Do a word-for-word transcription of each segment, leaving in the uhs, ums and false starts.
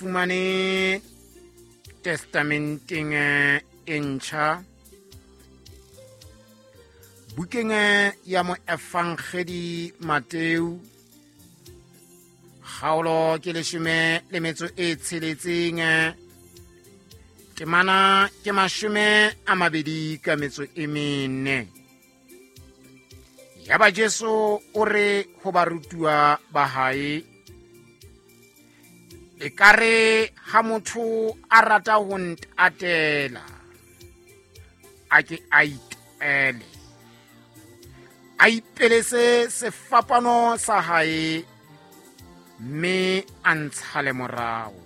Fumane Testamenteng e ntjha, bukeng ya moefangedi Mateu, kgaolo ke leshome le metso e tsheletseng, temana ke mashome a mabedi ka metso e mene. Yaba Jesu o re ho barutuwa ba hae, ekare ha motho a rata ho ntatela, a ke a itele, a ipelese sefapano sa hae, mme a ntshale morao.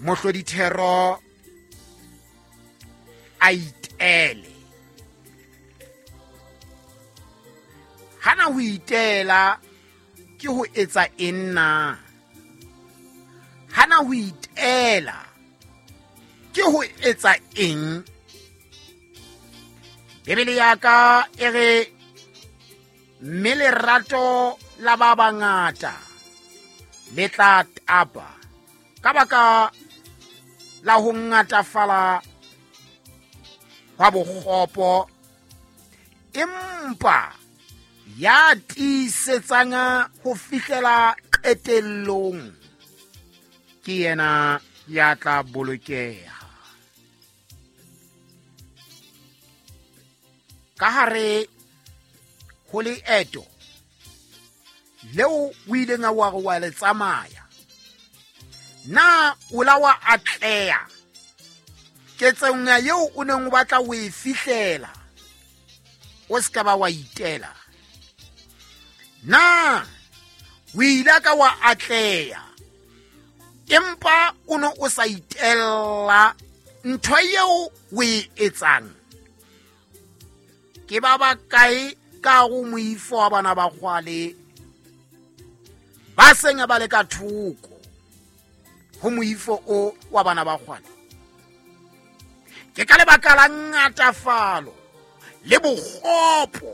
Mohlodithero a itele. Hana ho itela ke ho etsa eng na? Hana ho itela ke ho etsa eng? Bibele ya ka e re, mme lerato la ba bangata le tla tapa ka baka la ho ngatafala hwa bokgopo, empa ya tiisetsang ho fihlela qetellong ke yena ya tla bolokeha. Ka hare ho leeto leo o ileng wa re wa le tsamaya, na o la wa atleha ketsong eo o neng o batla ho e fihlela, o se ka ba wa itela? Na o ile ka wa atleha empa o ne o sa itella ntho eo o e etsang? Ke ba bakae ka go moifo wa bana ba kgwale ba seng ba le ka thoko ho moifo o wa bana ba kgwale? Ke ka lebaka la ngatafalo le bokgopo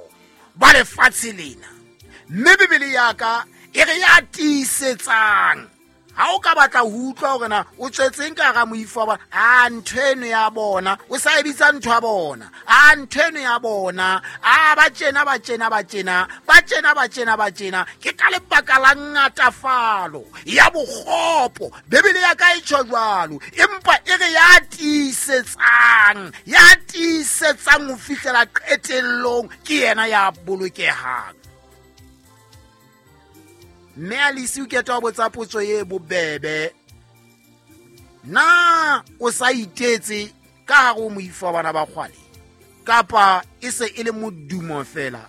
ba lefatshe lena, mme Bibele ya ka e re ya tiisetsang. Ha o ka batla ho utlwa hore na o tswetseng ka hara moifo wa bona, a ntho eno ya bona, o sa e bitsa ntho ya bona, a ntho eno ya bona, a ba tjena ba tjena ba tjena ba tjena ba tjena ba tjena, ke ka lebaka la ngatafalo ya bokgopo. Bibele ya ka e tjho jwalo, empa e re ya tiisetsang, ya tiisetsang ho fihlela qetellong ke yena ya bolokehang. Mme Alice o keta ho botsa potso e bobebe, na o sa itetse ka hare ho moifo wa bana ba kgwale, kapa e se e le modumo fela?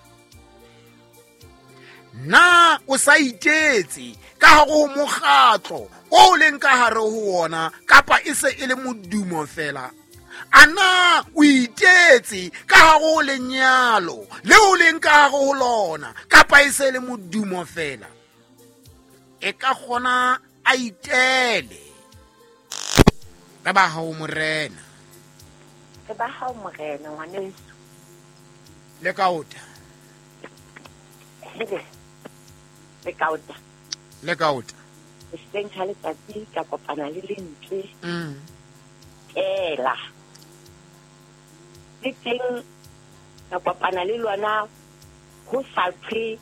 Na o sa itetse ka hare ho mokgatlo o leng ka hare ho wona, kapa e se e le modumo fela? A na o itetse ka hare ho lenyalo le o leng ka hare ho lona, kapa e se e le modumo fela? E ka kgona a itele. Re ba hao morena. Re ba hao morena ngwaneso. Le kaota. Hele. Le kaota. Le kaota. Hoseng ha letsatsi ka kopana le lentswe. Mm. Ela. Le teng ka kopana le lona ho sa thwe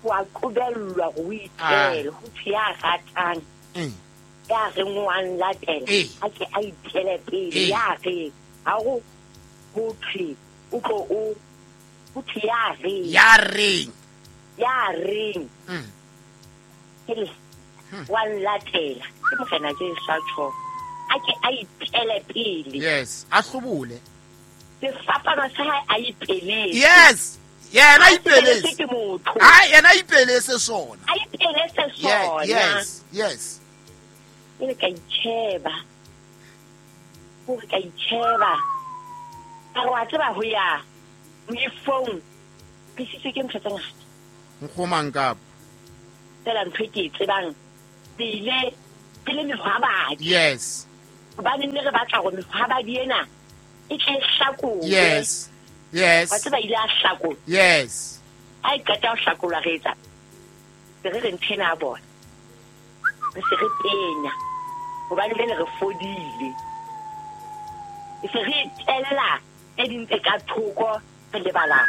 wa qobellwa ho itela, ho thwe ya ratang, ya reng wa nlatela, a ke a itele pele, ya re ha ho ho thwe o tlo o ho thwe ya reng, ya reng, ya reng, hele wa nlatela, ke morena Jesu a tjho, a ke a itele pele. Yes, a hlobole sefapano sa hae, a ipeletse. Yes. Yena ipeletse ke motho. Ah, yena ipeletse sona. A ipeletse sona. Yes, yes. Ke ka itsheba. Hore ka itsheba. Ka re wa tseba ho ya moifong. Ke sitswe ke ntho tse ngata. Nkgomang kapa. Fela ntho e ke e tsebang, re ile re le mehwabadi. Yes. Hobane ne re batla hore mehwabadi ena e tle e hlakolwe. Yes. Yes. Wa tseba ile a hlakolwa. Yes. Ha e qeta ho hlakolwa re etsa se re re ntho ena ya bona, re se re penya hobane jwale re fodile. E se re itella tse ding tse ka thoko, re lebala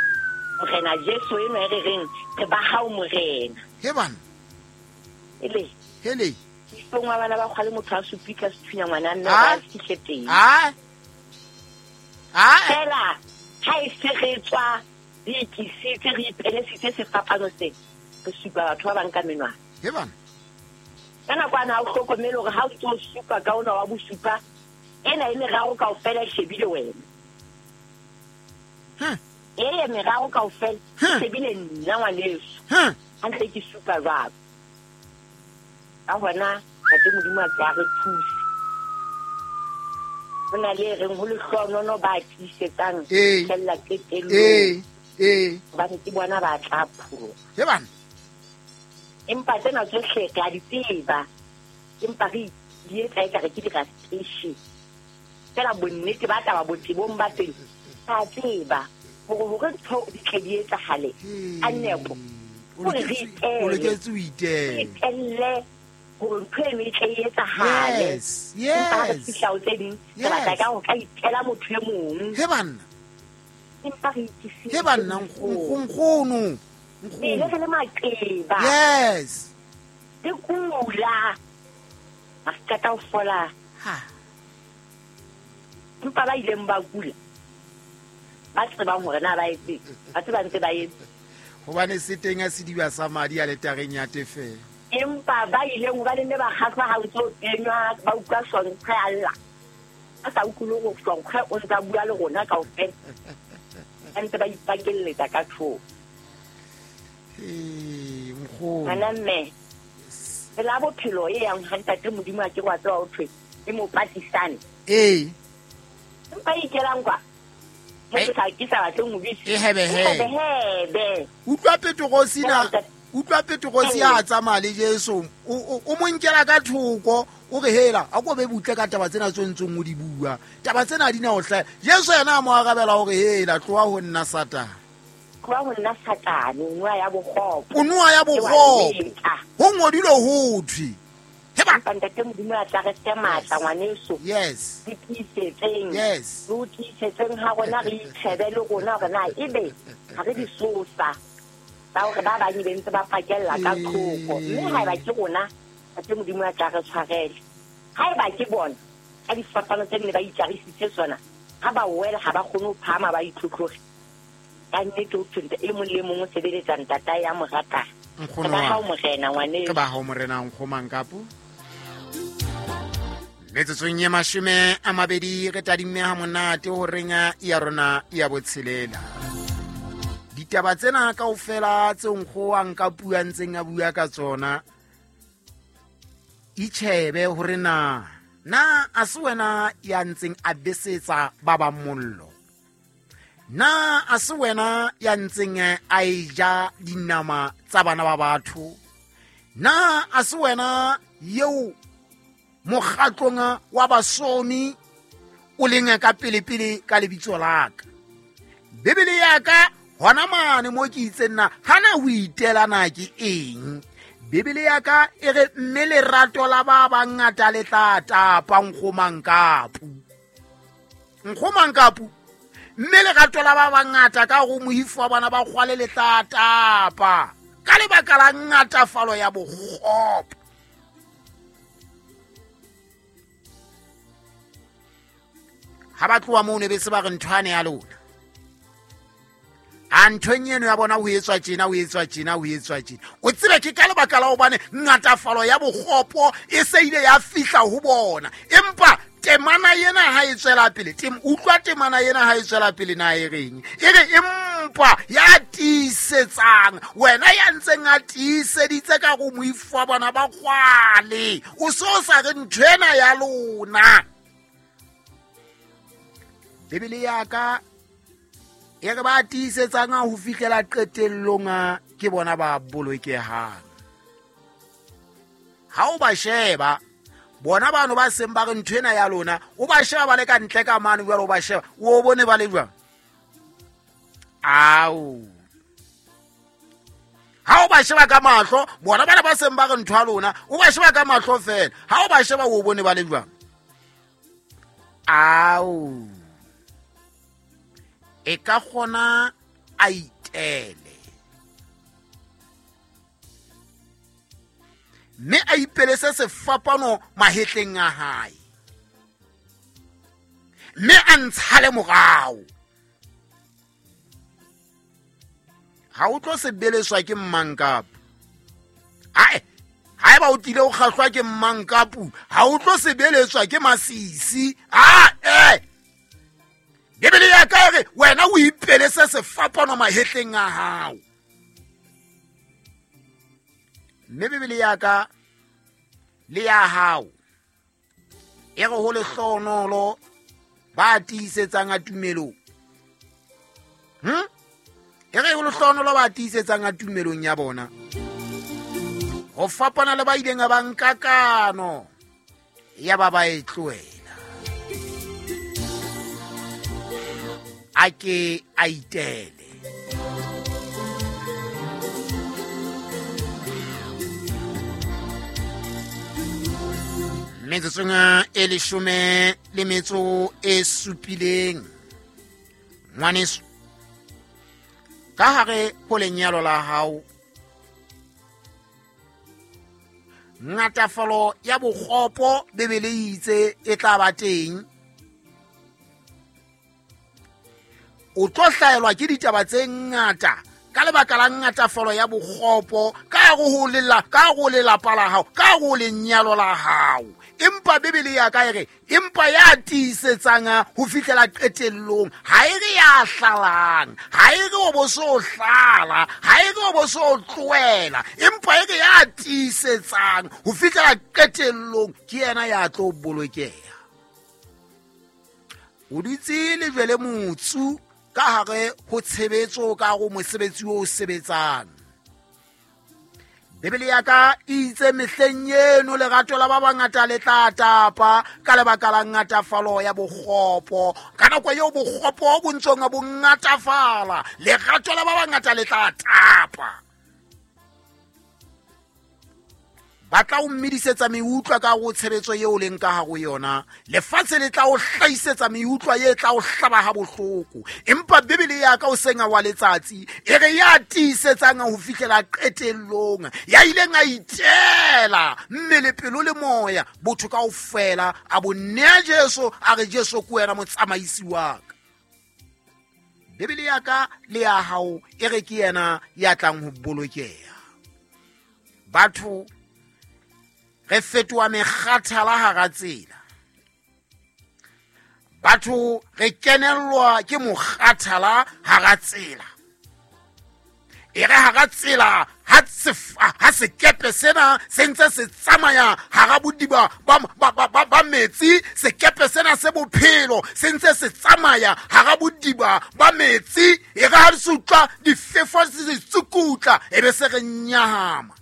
Morena Jesu enwa e re reng re ba hao Morena. He bana. Ele. Hele. Isong wa bana ba kgwale motho a supitla sethunya ngwana nna ba fihle teng. Ah. Ah. Fela ha e se re tswa re ikisitse re ipelesitse sefapano se re supa batho ba bang ka menwana. He bana. Ka nako ana ha o hlokomele hore ha o ntso supa ka ona wa bosupa ena e meraro kaofela e shebile wena. Hm. E meraro kaofela e shebile nna ngwaneso. Hm. Ha ntse ke supa jwalo. Ka hona Ntate Modimo a tla re thuse. Ho na le reng ho lehlohonono ba tiisetsang fella qetellong. Eh, eh. Hobane ke bona ba tla pholoha. He bana. Empa tsena tsohle re a di tseba. Empa re di etsa ekare ke di-frustration. Fela bonnete ba taba botebong ba teng ra tseba hore hore ntho di tle di etsahale ka nepo. Hore re itelle. O loketse ho itella. Itelle hore ntho eno e tle e etsahale. Yes, yes. Empa ha re fihla ho tse ding, re batla ka ho ka itela motho e mong. He banna. Empa re ikisitse. He banna, nkgono. Nkgono. Re le maqeba. Yes. Re kula. Ha re qeta ho fola. Ha. Empa ba ileng ba kula, ba tsebang hore na ba etse, ba tseba ntse ba etse. Hobane se teng a sediba sa madi a letareng ya tefelo. Empa ba ileng hobane ne ba kgahlwa ha o ntso kenywa, ba utlwa sonkgwe a lla. Ba sa utlwe hore sonkgwe o ntsa bua le rona kaofela. Ba ntse ba ipakelletsa ka thoko. Eh, nkgono. Ngwana mme, tsela ya bophelo e yang ha Ntate Modimo a ke wa tseba ho thwe e mo patisane. Eh. Empa e ikelang kwa. Motho sa ke sa batleng ho bitsa. E hebe hebe. Hebe. Utlwa Petrosi na, utlwa Petrosi a tsamaya le Jesu, o o mo nkela ka thoko, o re hela, a ko be butle ka taba tsena tse ntsong o di bua. Taba tsena di na o hlaha. Jesu yena a mo arabela hore hela, tloha ho nna Satane. Tloha ho nna Satane, o noa ya bokgopo. O noa ya bokgopo. Ho ngodilwe ho thwe. Empa Ntate Modimo a tla re fe matla ngwaneso. Yes. Re tiisetseng. Yes. Re tiisetseng ha rona re itshebe le rona hore na ebe ha re disosa tsa hore ba bang be ntse ba pakella ka thoko. Mme haeba ke rona, Ntate Modimo a tla re tshwarele. Haeba ke bona ka difapano tse nne ba itjarisitse tsona, ha ba wela ha ba kgone ho phahama ba itlhotlhore. Ka nnete ho thwe e mong le mong o sebeletsa ntatae ya mo ratang. Nkgono Ke ba hao Morena ngwaneso. Ke ba hao Morena nkgomang kapo. Metsotsong e mashome a mabedi re tadimme ha monate ho reng ya rona ya botshelela. Ditaba tsena kaofela tse nkgo a nka bua ntseng a bua ka tsona, itjhebe hore na na a se wena ya ntseng a besetsa ba bang mollo, na a se wena ya ntseng a eja dinama tsa bana ba batho, na a se wena eo mokgatlong wa basomi o leng ka pele-pele ka lebitso la ka. Bibele ya ka hona mane mo ke itseng na hana ho itela na ke eng. Bibele ya ka e re mme lerato la ba bangata le tla tapa nkgomang kapu. Nkgomang kapu. Mme lerato la ba bangata ka go moifo wa bana ba kgwale le tla tapa ka lebaka la ngatafalo ya bokgopo. Ha ba tloha moo ne be se ba re nthwane ya lona. A nthong eno ya bona ho etswa tjena, ho etswa tjena, ho etswa tjena. O tsebe ke ka lebaka la hobane ngatafalo ya bokgopo e se ile ya fihla ho bona. Empa temana ena ha e tswela pele, tem utlwa temana ena ha e tswela pele na e reng? E re empa ya tiisetsang, wena ya ntseng a tiiseditse ka go moifo wa bona ba kgwale, o so sa re ntho ena ya lona. Bibele ya ka e re ba tiisetsang ho fihlela qetellong ke bona ba bolokehang. Ha o ba sheba bona bano ba seng ba re ntho ena ya lona, o ba sheba ba le ka ntle ka mane jwalo, o ba sheba o bone ba le jwang? Ao. Ha o ba sheba ka mahlo, bona bana ba seng ba re ntho ya lona, o ba sheba ka mahlo fela. Ha o ba sheba o bone ba le jwang? Ao. E ka kgona a itele. Mme a ipelese sefapano mahetleng a hae. Mme a ntshale morao. Ha o tlo sebeleswa ke mmankapu. Ae, haeba o tlile o kgahlwa ke mmankapu, ha o tlo sebeletswa ke masisi. Ah, eh. Bibele ya ka re wena o ipelese sefapano mahetleng a hao. Mme Bibele ya ka le ya hao e re ho lehlohonolo ba tiisetsang a tumelong. Hm? E re ho lehlohonolo ba tiisetsang a tumelong ya bona. Ho fapana le ba ileng ba nka kano ya ba ba e tlohela. A ke a itele. Metsotsong e leshome le metso e supileng. Ngwaneso, ka hare ho lenyalo la hao, ngatafalo ya bokgopo Bibele e itse e tla ba teng. O tlo hlaelwa ke ditaba tse ngata ka lebaka la ngatafalo ya bokgopo ka go lela ka go lelapa la hao, ka go lenyalo la hao. Empa Bibele ya ka e re empa ya tiisetsang ho fihlela qetellong, ha e re ya hlalang, ha e re o bo so hlala, ha e re o bo so tlohela, empa e re ya tiisetsang ho fihlela qetellong ke yena ya tlo bolokeha. O dutse lejwe le motsu ka hare ho tshebetso ka go mosebetsi o sebetsang. Bibele ya ka e itse mehleng eno lerato la ba bangata le tla tapa ka lebaka la ngatafalo ya bokgopo. Ka nako eo bokgopo bo ntsong bo ngatafala, lerato la ba bangata le tla tapa. Ba tla o mmedisetsa meutlwa ka go tshebetso eo leng ka hare ho yona. Lefatshe le tla o hlahisetsa meutlwa e tla o hlaba ha bohloko. Empa Bibele ya ka o senga wa letsatsi e re ya tiisetsang ho fihlela qetellong, ya ileng a itela mmele pelo le moya botho kaofela a bo nea Jesu, a re Jesu ke wena motsamaisi wa ka. Bibele ya ka le ya hao e re ke yena ya tlang ho bolokeha. Batho re fetoha mekgathala hara tsela. Batho re kenellwa ke mokgathala hara tsela. E re hara tsela ha ha sekepe sena se ntse se tsamaya hara bodiba ba ba ba ba metsi, sekepe sena se bophelo se ntse se tsamaya hara bodiba ba metsi, e re ha se utlwa difefo se tsukutla e be se re nyahama.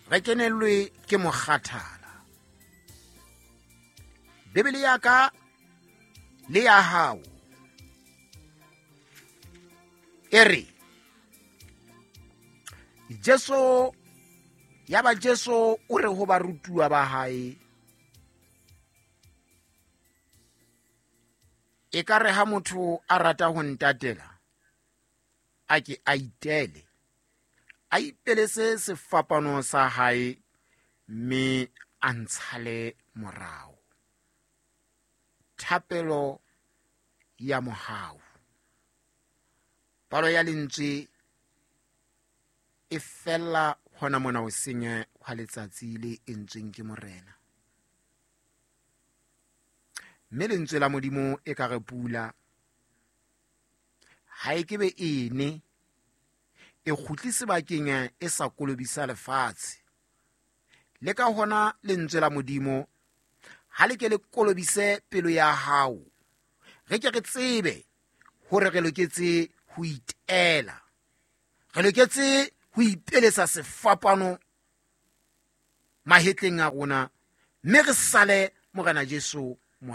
Re kenellwe ke mokgathala. Bibele ya ka le ya hao e re Jesu ya ba Jesu o re ho barutuwa ba hae, e ka re ha motho a rata ho ntatela a ke a itele, a ipelese sefapano sa hae mme a ntshale morao. Thapelo ya mohau. Palo ya lentswe e fella hona mona ho senya hwa letsatsi le entsweng ke Morena. Mme lentswe la Modimo e ka re pula ha e ke be ene e kgutli sebakeng e sa kolobisa lefatshe. Le ka hona lentswe la Modimo ha le ke le kolobise pelo ya hao. Re ke re tsebe hore re loketse ho itela, re loketse ho ipelesa sefapano mahetleng a rona, mme re sale Morena Jesu